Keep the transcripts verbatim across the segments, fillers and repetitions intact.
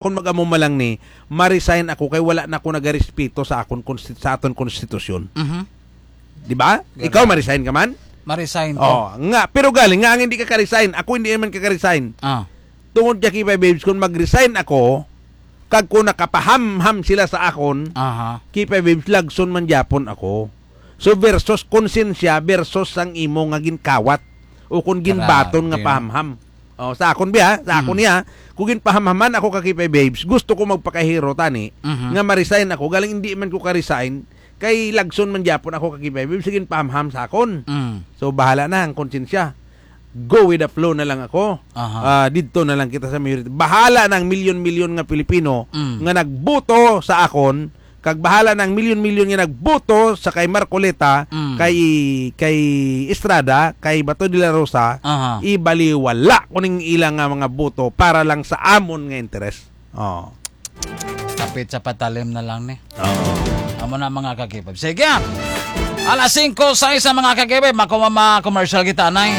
Kung mag-amo man lang ni, ma-resign ako kay wala na ako nagarespeto sa akon konsti-, sa aton konstitusyon. Mhm. Di ba? Ganun. Ikaw, ma-resign ka man? Ma-resign ko. Oh, nga, pero galing nga ang hindi ka ka-resign. Ako hindi man ka ka-resign. Ah. Tungod kay K five Babes, kung mag-resign ako, kag kung nakapahamham sila sa akon, Aha. K five Babes, lagson man gyapon ako. So, versus konsensya versus ang imo nga ginkawat o kung ginbaton nga Grabe. pahamham. Oh, sa akon biya, sa akon Mm. niya, kung ginpahamhaman ako ka K five Babes, gusto ko magpakahiro tani Mhm. nga ma-resign ako, galing hindi man ko ka-resign, kay lagson man gyapon ako ka K five Babes, sige pahamham sa akon. Mm. So, bahala na ang konsensya. Go with the flow na lang ako. Aha. Ah, didto na lang kita sa majority. Bahala na ang milyon-milyon nga Pilipino Mm. nga nagboto sa akon, kag bahala na ang milyon-milyon nga nagboto sa kay Marcoleta, Mm. kay, kay Estrada, kay Bato de la Rosa, Aha. ibaliwala ko ning ilang nga mga boto para lang sa amon nga interes. Oh. Kapit sa patalim na lang ni. Oo. Amo na, mga ka-K five. Sige. Alas singko sais na, mga ka-K five. Makuha ma-commercial kita, nay.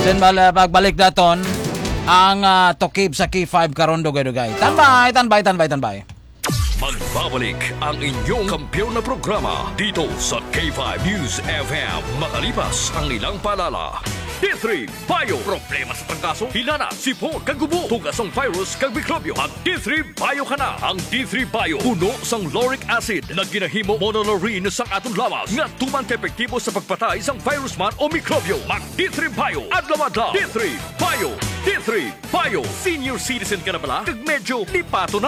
Then bal-, pagbalik daton ang, ah, tukib sa K five karon, dugay-dugay. Tanbay, tanbay, tanbay, tanbay. Magbabalik ang inyong kampiyon na programa dito sa K five News F M, makalipas ang ilang paalala. D three Bio. Problema sa trangkaso, hinana, sipon, kag ubo, tugas ang virus kag mikrobyo. Mag D three Bio ka na. Ang D three Bio puno sang lauric acid nga ginahimo monolaurin sang aton lawas nga tuman ka epektibo sa pagpatay sang virus man o mikrobyo. Mag D three Bio adlaw-adlaw. D three Bio. D three Bio. Senior citizen ka na bala? Kag medyo lipaton